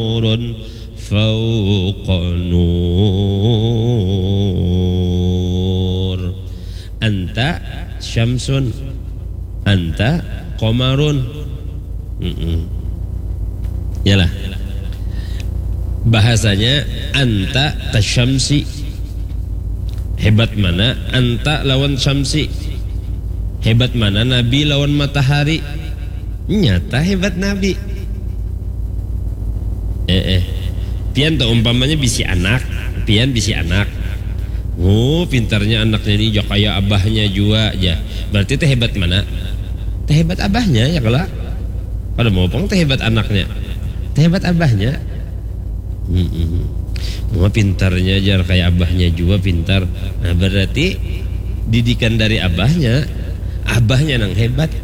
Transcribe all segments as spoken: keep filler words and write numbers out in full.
Nurun fauqa nur. Anta syamsun. Anta qamarun. Mm-mm. Yalah. Bahasanya anta kasyamsi. Hebat mana anta lawan syamsi? Hebat mana Nabi lawan matahari? Nyata hebat Nabi. Eh, eh. Pian tuh umpamanya bisi anak, pian bisi anak. Oh, pintarnya anaknya ini, ya, kayak abahnya juga aja. Berarti teh hebat mana? Teh hebat abahnya, ya kalau. Pada mau pang teh hebat anaknya. Teh hebat abahnya. Mm-mm. Wah, pintarnya aja kayak abahnya juga pintar. Nah, berarti didikan dari abahnya, abahnya nang hebat.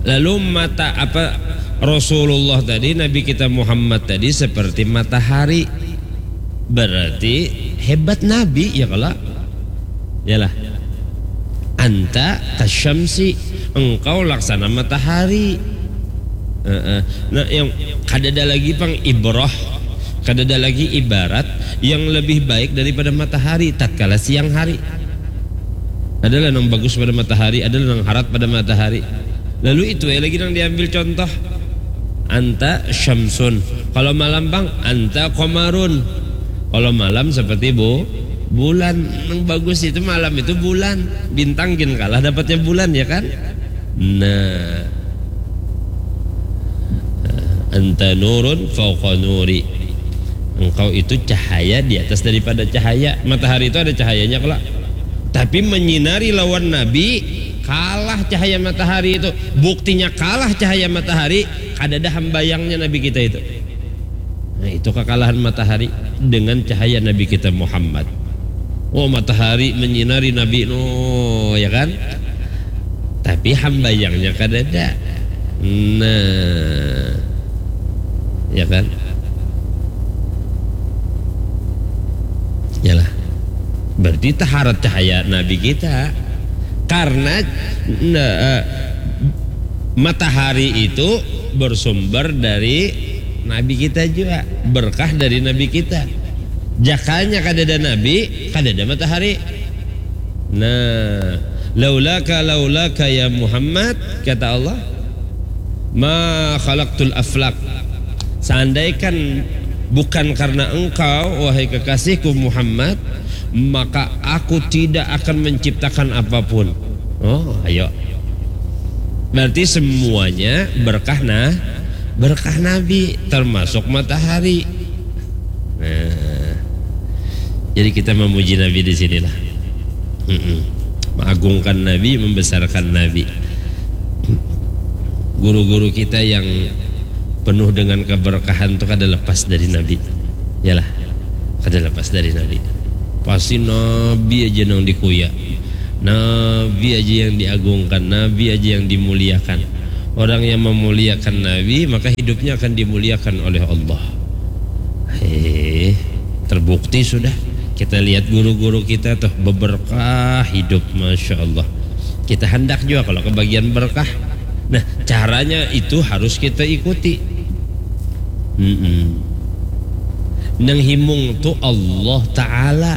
Lalu mata apa Rasulullah tadi, Nabi kita Muhammad tadi seperti matahari. Berarti hebat Nabi, ya kalau? Yalah. Anta kasyamsi, engkau laksana matahari. Heeh. Nah, yang kadada lagi pang ibrah, kadada lagi ibarat yang lebih baik daripada matahari tatkala siang hari. Adalah nang bagus pada matahari, adalah nang harat pada matahari. Lalu itu ya lagi nang diambil contoh. Anta syamsun. Kalau malam pang, anta qamarun. Kalau malam seperti bu, bulan. Yang bagus itu malam itu bulan. Bintang gin kalah dapatnya bulan, ya kan? Nah. Anta nurun fauqa nuri. Engkau itu cahaya di atas daripada cahaya. Matahari itu ada cahayanya kelak. Tapi menyinari lawan Nabi, kalah cahaya matahari itu. Buktinya kalah cahaya matahari, kadada hambayangnya Nabi kita itu. Nah, itu kekalahan matahari dengan cahaya Nabi kita Muhammad. Oh, matahari menyinari Nabi, no, ya kan? Tapi hambayangnya kadada. Nah, ya kan? Yalah. Berarti taharat cahaya Nabi kita. Karena, nah, eh, matahari itu bersumber dari Nabi kita juga, berkah dari Nabi kita. Jakanya kadada Nabi, kadada matahari. Nah, laulaka, laulaka ya Muhammad, kata Allah, ma khalaqtul aflak. Seandaikan bukan karena engkau, wahai kekasihku Muhammad, maka aku tidak akan menciptakan apapun. Oh, ayo. Berarti semuanya berkah, nah, berkah Nabi, termasuk matahari. Nah, jadi kita memuji Nabi di sinilah. Mm-mm. Mengagungkan Nabi, membesarkan Nabi. Guru-guru kita yang penuh dengan keberkahan itu kada lepas dari Nabi. Yalah, kada lepas dari Nabi. Pasti Nabi aja nang dikuya. Nabi aja yang diagungkan, Nabi aja yang dimuliakan. Orang yang memuliakan Nabi, maka hidupnya akan dimuliakan oleh Allah. Heh, terbukti sudah. Kita lihat guru-guru kita tuh beberkah hidup, masya Allah. Kita hendak juga kalau kebagian berkah. Nah, caranya itu harus kita ikuti. Mm-mm. Nang himung tu Allah Ta'ala.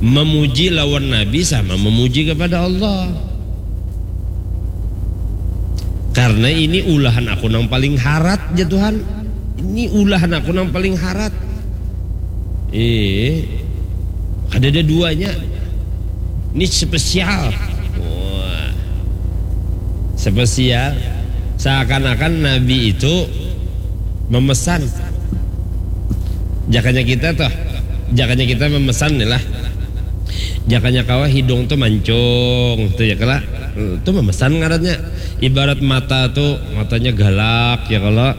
Memuji lawan Nabi sama memuji kepada Allah. Karena ini ulahan aku nang paling harat, ya Tuhan. Ini ulahan aku nang paling harat. Eh, ada ada duanya. Ini spesial. Wah. Spesial. Seakan-akan Nabi itu memesan. Jakanya kita tuh, jakanya kita memesan nih lah. Jakanya kawa hidung tuh mancung, tuh ya kala. Tuh memesan ngarannya. Ibarat mata tuh, matanya galak ya kala.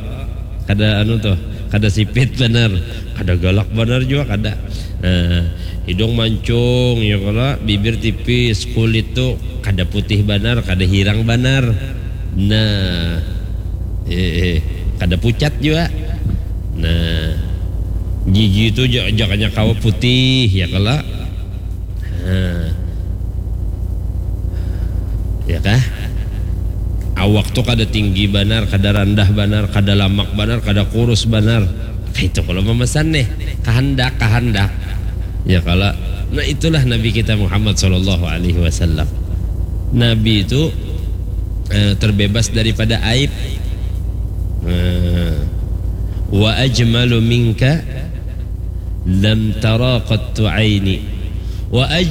Kada anu tuh, kada sipit banar, kada galak banar jua kada. Nah, hidung mancung ya kala, bibir tipis, kulit tuh kada putih banar, kada hirang banar. Nah, eh, eh, kada pucat jua. Nah, gigi tuh ja- jakanya kawa putih ya kala. Nah. Ya kah? Awak tuh kada tinggi banar, kada randah banar, kada lamak banar, kada kurus banar. Itu kalau memesan nih, kahandak, kahandak. Ya kalau, nah, itulah Nabi kita Muhammad sallallahu alaihi wasallam. Nabi itu eh, terbebas daripada aib. Nah, wa ajmalu minka lam tara qattu aini. Wa